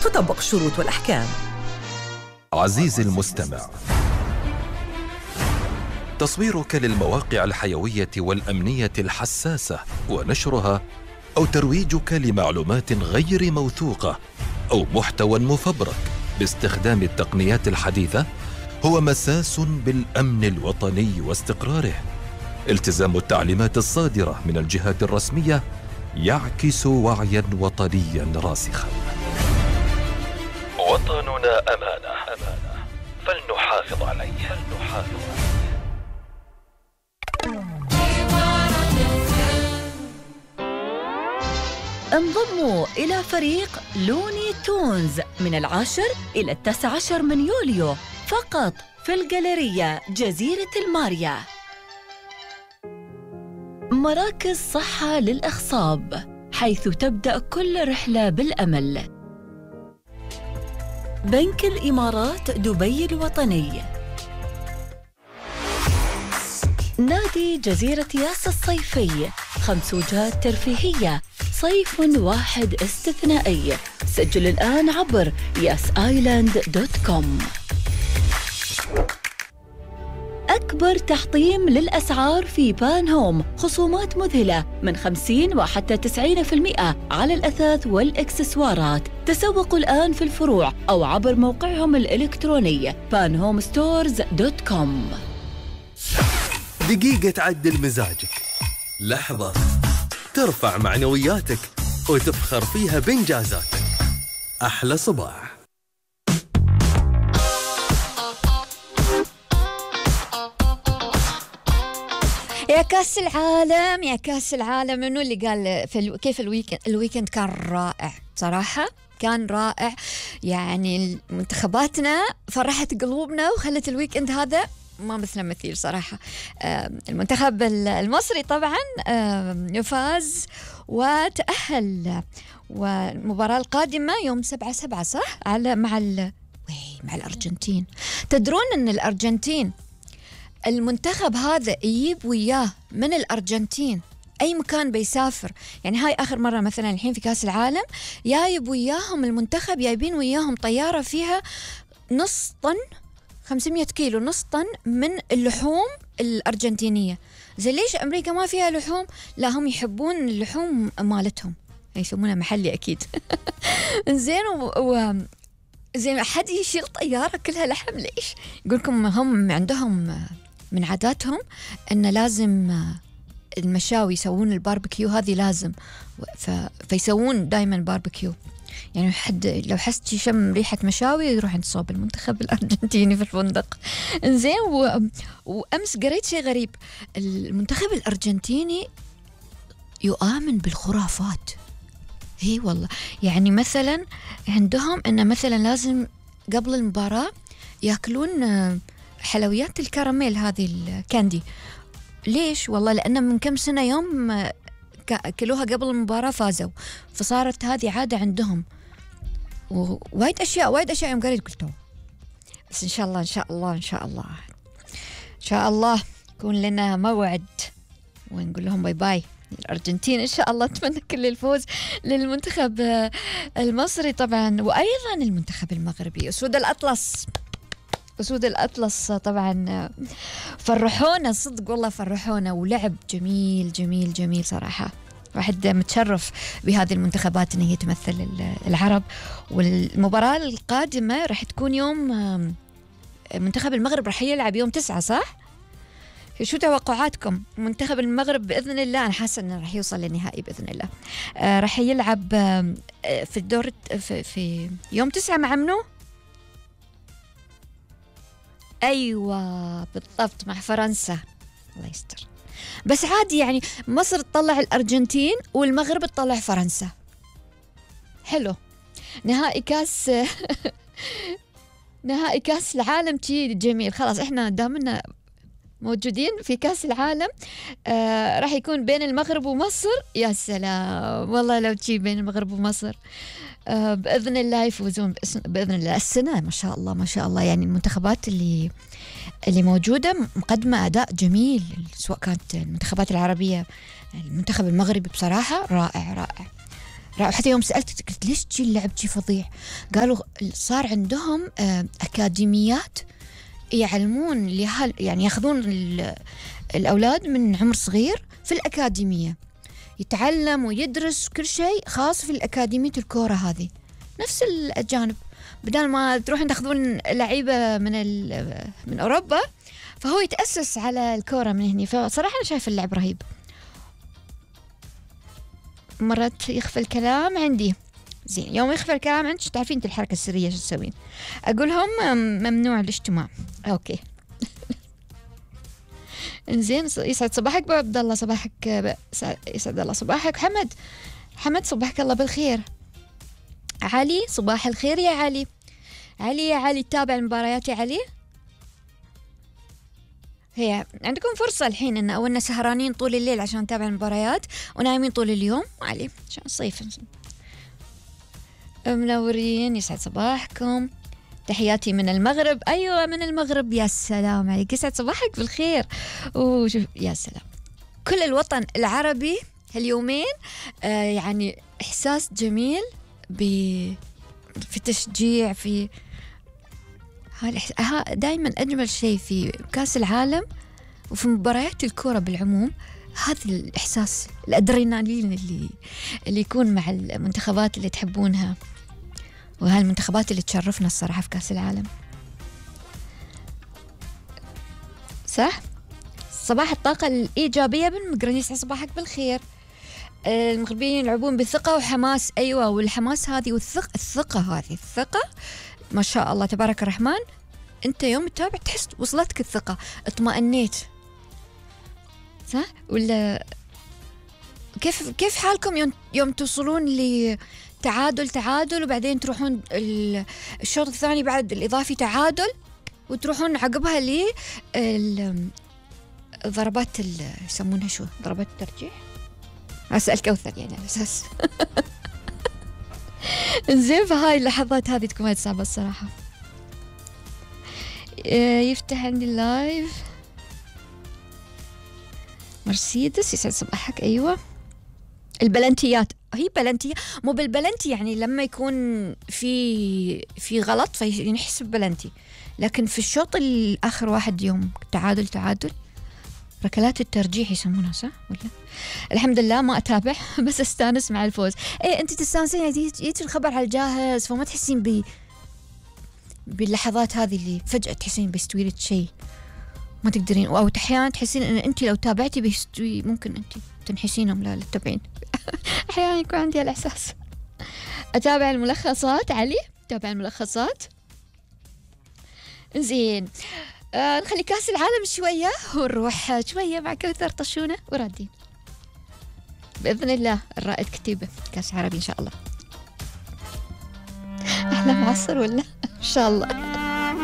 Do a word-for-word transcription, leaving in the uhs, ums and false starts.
تطبق الشروط والأحكام. عزيزي المستمع، تصويرك للمواقع الحيوية والأمنية الحساسة ونشرها أو ترويجك لمعلومات غير موثوقة أو محتوى مفبرك باستخدام التقنيات الحديثة هو مساس بالأمن الوطني واستقراره. التزام التعليمات الصادرة من الجهات الرسمية يعكس وعيا وطنيا راسخا. وطننا أمانة، أمانة فلنحافظ عليه، فلنحافظ عليه. انضموا إلى فريق لوني تونز من العاشر إلى التاسع عشر من يوليو فقط في الجاليرية جزيرة الماريا. مراكز صحة للإخصاب، حيث تبدأ كل رحلة بالأمل. بنك الإمارات دبي الوطني. نادي جزيرة ياس الصيفي، خمس وجهات ترفيهية، صيف واحد استثنائي. سجل الآن عبر ياس آيلاند دوت كوم. أكبر تحطيم للأسعار في بان هوم، خصومات مذهلة من خمسين وحتى تسعين بالمئة على الأثاث والإكسسوارات. تسوقوا الآن في الفروع أو عبر موقعهم الإلكتروني بان هوم ستورز دوت كوم. دقيقة تعدل مزاجك، لحظة ترفع معنوياتك وتفخر فيها بإنجازاتك. أحلى صباح. يا كاس العالم، يا كاس العالم، منو اللي قال في الو... كيف الويكند؟ الويكند كان رائع صراحة، كان رائع. يعني منتخباتنا فرحت قلوبنا وخلت الويكند هذا ما مثل مثيل صراحة. المنتخب المصري طبعا فاز وتأهل، والمباراة القادمة يوم سبعة سبعة صح على مع ال... مع الأرجنتين. تدرون أن الأرجنتين المنتخب هذا يجيب وياه من الأرجنتين أي مكان بيسافر، يعني هاي آخر مرة مثلا الحين في كاس العالم جايب وياهم المنتخب، جايبين وياهم طيارة فيها نص طن، خمسمية كيلو، نص طن من اللحوم الأرجنتينية. زي ليش أمريكا ما فيها لحوم؟ لا، هم يحبون اللحوم مالتهم، يسمونها محلي أكيد. زين و... و... زين أحد يشيل طيارة كلها لحم ليش؟ يقولكم هم عندهم من عاداتهم أن لازم المشاوي يسوون الباربيكيو، هذه لازم، ف... فيسوون دايما باربيكيو. يعني حد لو حست يشم ريحة مشاوي يروح عند صوب المنتخب الأرجنتيني في الفندق. إنزين و... وأمس قريت شيء غريب، المنتخب الأرجنتيني يؤمن بالخرافات. هي والله، يعني مثلا عندهم إنه مثلا لازم قبل المباراة يأكلون حلويات الكراميل، هذه الكاندي. ليش؟ والله لأن من كم سنة يوم أكلوها قبل المباراة فازوا، فصارت هذه عادة عندهم. ووايد أشياء وايد أشياء يوم قريت قلتوا، بس إن شاء الله إن شاء الله إن شاء الله إن شاء الله يكون لنا موعد ونقول لهم باي باي الأرجنتين إن شاء الله. أتمنى كل الفوز للمنتخب المصري طبعا، وأيضا المنتخب المغربي. أسود الأطلس، أسود الأطلس طبعا فرحونا صدق والله، فرحونا، ولعب جميل جميل جميل صراحة. واحد متشرف بهذه المنتخبات أن هي تمثل العرب. والمباراة القادمة راح تكون يوم، منتخب المغرب راح يلعب يوم تسعة صح؟ شو توقعاتكم؟ منتخب المغرب بإذن الله أنا حاسة أنه راح يوصل للنهائي بإذن الله. آه راح يلعب آه في الدور في, في يوم تسعة مع منو؟ أيوة بالضبط مع فرنسا. الله يستر. بس عادي يعني مصر تطلع الأرجنتين والمغرب تطلع فرنسا. حلو. نهائي كاس نهائي كاس العالم تي جميل. خلاص احنا دامنا موجودين في كاس العالم، آه راح يكون بين المغرب ومصر. يا سلام والله لو تجي بين المغرب ومصر، آه بإذن الله يفوزون بإذن الله. السنة ما شاء الله ما شاء الله، يعني المنتخبات اللي اللي موجودة مقدمة أداء جميل، سواء كانت المنتخبات العربية. المنتخب المغربي بصراحة رائع رائع حتى يوم سألت قلت ليش تجي اللعب جي فظيع؟ قالوا صار عندهم أكاديميات يعلمون لهال يعني ياخذون الأولاد من عمر صغير في الأكاديمية، يتعلم ويدرس كل شيء خاص في الأكاديمية الكورة هذه. نفس الأجانب بدل ما تروحون تاخذون لعيبة من من أوروبا، فهو يتأسس على الكورة من هنا. فصراحة أنا شايف اللعب رهيب. مرات يخفى الكلام عندي، زين يوم يخفى الكلام عندك تعرفين انت الحركة السرية شو تسوين؟ أقولهم ممنوع الاجتماع. أوكي. إنزين يسعد صباحك أبو عبد الله. صباحك يسعد الله صباحك. حمد حمد صباحك الله بالخير. علي صباح الخير يا علي. علي يا علي تتابع المباريات يا علي؟ هي عندكم فرصة الحين إن أولنا سهرانين طول الليل عشان نتابع المباريات ونايمين طول اليوم علي عشان الصيف. منورين يسعد صباحكم. تحياتي من المغرب. أيوة من المغرب. يا سلام عليك يسعد صباحك بالخير. وشوف يا سلام كل الوطن العربي هاليومين آه يعني إحساس جميل ب في تشجيع في ها دائما أجمل شيء في كأس العالم وفي مباريات الكرة بالعموم هذا الإحساس الأدرينالين اللي اللي يكون مع المنتخبات اللي تحبونها وهالمنتخبات اللي تشرفنا الصراحة في كأس العالم. صح؟ صباح الطاقة الإيجابية بالمقرن يسعد صباحك بالخير. المغربيين يلعبون بثقة وحماس. أيوة والحماس هذه والثقة الثقة هذه الثقة ما شاء الله تبارك الرحمن. أنت يوم تتابع تحس وصلتك الثقة اطمأنيت صح ولا كيف كيف حالكم يوم يوم توصلون لتعادل تعادل وبعدين تروحون الشوط الثاني بعد الإضافي تعادل وتروحون عقبها ل ضربات يسمونها شو ضربات الترجيح. أسأل كوثر يعني على أساس زين. فهاي اللحظات هذه تكون صعبة الصراحة. يفتح عندي اللايف مرسيدس يسعد صباحك. أيوة البلنتيات هي بلنتي مو بالبلنتي يعني لما يكون في في غلط فينحسب بلنتي، لكن في الشوط الآخر واحد يوم تعادل تعادل ركلات الترجيح يسمونها صح ولا؟ الحمد لله ما أتابع بس أستانس مع الفوز. إيه أنت تستانسين يجي الخبر على الجاهز فما تحسين ب باللحظات هذه اللي فجأة تحسين بيستوي لك شيء ما تقدرين، أو أحيانا تحسين إن أنت لو تابعتي بيستوي ممكن أنت تنحسينهم لا للتابعين. أحيانا يكون عندي الإحساس. أتابع الملخصات علي أتابع الملخصات. زين آه نخلي كاس العالم شوية ونروح شوية مع كوثر طشونة ورادين بإذن الله. الرائد كتيبة كاس عربي إن شاء الله. أحلى معصر ولا إن شاء الله.